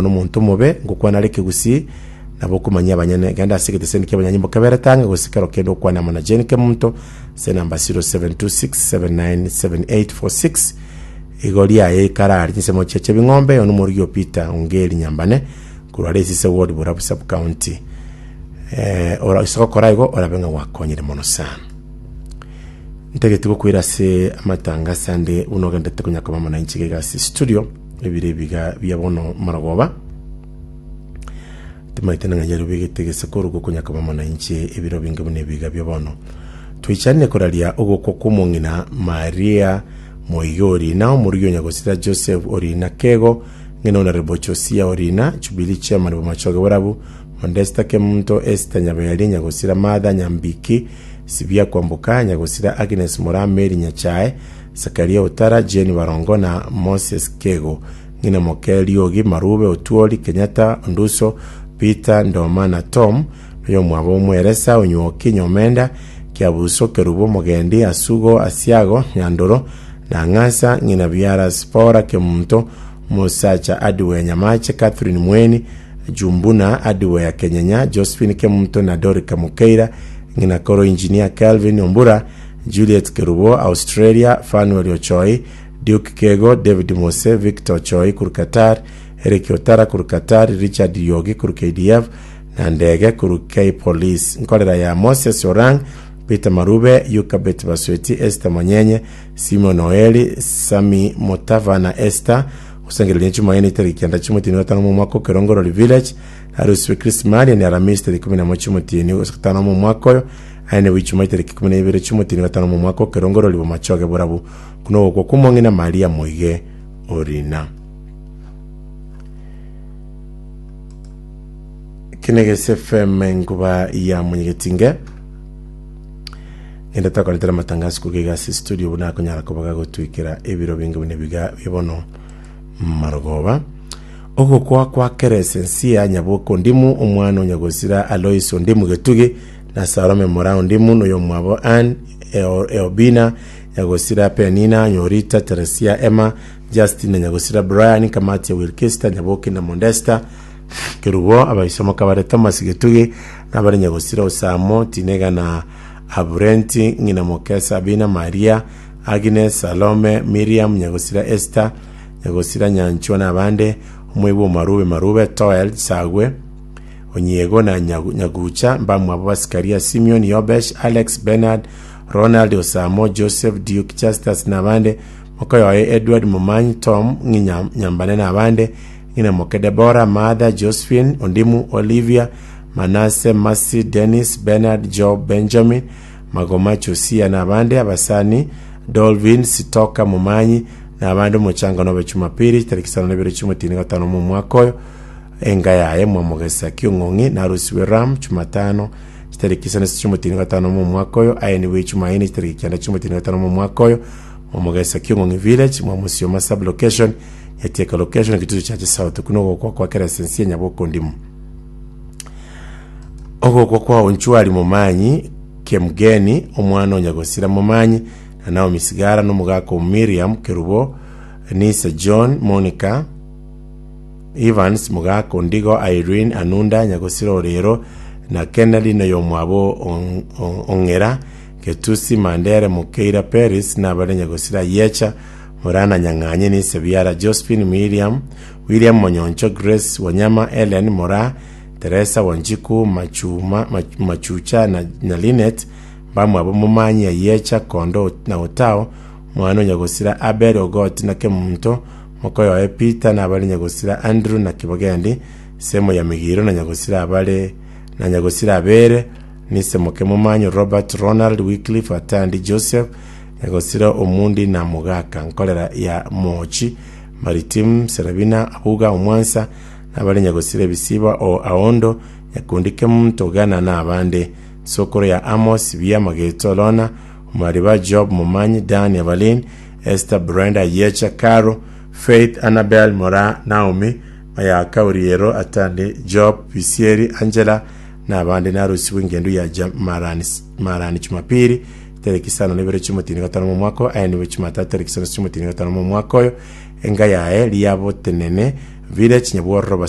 Nomonto omobe ngokwana are ekegusii, nabo okomanyia abanyene. Genda ase egeteseni ki'abanyanyimbo keberete ang'e, gose kero kende okwane amo na Jane Kemunto ase enamba 0726797846. Igo riaye ikarari chinsemo chia Chebing'ombe, oyo nomorugi o Peter Ongeri Nyambane, korwa Resise Ward, Borabu Sub-County. Eh, ora ase gokora igo orabe ng'a gwakonyire mono sana. Ntagete gokoira ase amatangaso ande buna ogenderete konya koba amo nainche iga ase studio. Ebiro ebiga bia bono marogoba, timaete nang'a yarobegete gese korwa gokonya koba amo nainche ebiro binge buna ebiga bia bono. Twichanire koraria ogokwa kw'omong'ina Maria moige orina, omorugi o nyagosira Joseph orina Kego, ng'ina Honorable Josia orina, Jubilee Chairman bw'amachoge borabu, Modesta Kemunto, Esther Nyaberi, nyagosira Martha Nyambiki, Sibia Kwamboka, nyagosira Agnes Moraa Mary Nyachae, Zakaria Otara, Jane Barongo na Moses Kego, ng'ina moke Riogi, Marube, Otuori, Kenyatta, Onduso, Peter, Ndoma na Tom, noyomwabo Omweresa, Onywoki, Nyomenda, Kiabuso, Kerubo, Mogendi, Asugo, Asiago, Nyandoro, na Ng'asa, ng'ina biara Sipora, Kemunto, Omosacha Adwea Nyamache, Catherine Mweni, Jumbuna, Adwea Kenyenya, Josephine Kemunto na Dorika Mukeira, ng'ina koro Engineer Kelvin Ombura, Juliet Kerubo, Australia, Fanuel Ochoi, Duke Kego, David Mose, Victor Ochoi korwa Qatar, Eric Otara korwa Qatar, Richard Riogi korwa KDF, na Ndege korwa K-Police. Nkorera ya Moses Orang, Peter Marube, Yukabet Basweti, Esther Monyenye, Simon Oeri, Sammy Mutava na Esther gosangereria Jumaine tariki kianda chi'omotienyi o gatano omwaka o Kerongorori Village, Harusi Krismari ne Aramisi tariki ikomi na moja chi'omotienyi o gatano omwaka oyo, Aye nigo ichuma etariki 12 chi'omotienyi o gatano omwaka o kerongorori bw'amachoge borabu, buna ogokwa kw'omong'ina Maria moige orina. Kinegesi FM enkuba ya Mwenyegetinge. Ngende tokoretera amatangazo korwa iga ase studio buna akonyara koba gagotwikera ebiro binge buna ebiga bia bono marogoba. Ogokwa kwa Keresensia Nyaboke Ondimu, omwana o Nyagosira Alois Ondimu Getugi, na Salome Moraa Ondimu, na oyomwabo Ann Eobina, Nyagosira Penina, Nyorita, Teresia, Emma, Justin na Nyagosira Brian, Kamatia Wilkista, Nyaboke na Mondesta, Kerubo, abaisomoka bare Thomas Getugi, na abare Nyagosira Osamo, Tinega na Aburenti, ng'ina moke Sabina, Maria, Agnes, Salome, Miriam, Nyagosira Esther, Nyagosira Nyanchwa na abande, omoibwa o Marube Marube, Toel, Sagwe, Onyiego na Nyagucha, mbamwabo Basikaria, Simeon, Yobesh, Alex, Bernard, Ronald, Osamo, Joseph, Duke, Justus na abande, mokoyoye Edward, Momanyi, Tom, ng'inya Nyambane na abande, ng'ina moke Deborah, Martha, Josephine, Ondimu, Olivia, Manase, Mercy, Dennis, Bernard, Job, Benjamin, Magoma, Josia na abande, abasani, Dolvin, Sitoka, Momanyi, na abande omochango nobe Jumapili, tariki isano na ibere chi'omotienyi gatano omwaka oyo, Enga yaye mwamogesa ki'ong'ong'i narusigwe Ram Jumatano, chitariki isano chi'omotienyi gatano omwaka oyo, aye nigo Ijumaine chitariki kianda chi'omotienyi gatano omwaka oyo, mwamogesa ki'ong'ong'i village, mwamusioma sub location, Nyatieka location, Kitutu Chache South. Okwo nogokwa kwa kera esensi ya Nyabokondimu. Ogokwa kwa Onchwari Momanyi Kemgeni, omwana o Nyagosira Momanyi, na Naomi Sigara, na omogaka o Miriam Kerubo, Nisa John, Monica, Evans, mogaka Ondigo, Irene, Anunda, Nyagosira Orero, na Kennedy, na oyomwabo Ong'era, Getusi, Mandere, Mokeira, Peris, na abare Nyagosira Ayiecha, Morana Nyang'anye, Nise Biara, Josephine, Miriam, William Monyoncho, Grace, Wanyama, Ellen, Moraa, Teresa, Wanjiku, Machuma, Machucha, na, na Linet, mbamwabo Momanyi, Ayiecha, Kondo, na Otao, Omwana o Nyagosira Abel, Ogoti, na Kemunto, Mokoyoe Peter na abare nyagosira Andrew na Kibogendi, semo ya Migiro na nyagosira abare na nyagosira Abere, nise moke Momanyo Robert, Ronald, Wycliffe, Atandi, Joseph, nyagosira Omundi na Mogaka, nkorera ya Moochi, Maritim, Serabina, Abuga, Omwansa, na abare nyagosira Ebisiba o Aondo, Nyakundi Kemunto, Gana na abande. Sokoro ya Amos, Bia, Mageto, Lona, Omariba, Job, Momanyi, Dan, Evelyn, Esther, Brenda, Yecha, Caro, Faith, Annabel, Moraa, Naomi, Mayaka, Uriero, Atandi, Job, Bisieri, Angela, na abande narusigwe engendu ya ja, marani, marani Jumapili, tariki isano na ibere chi'omotienyi gatano momwaka oyo, aye nigo Jumatatu tariki isano chi'omotienyi gatano momwaka oyo, enga yaye riabotenene. Village, Nyabwororo.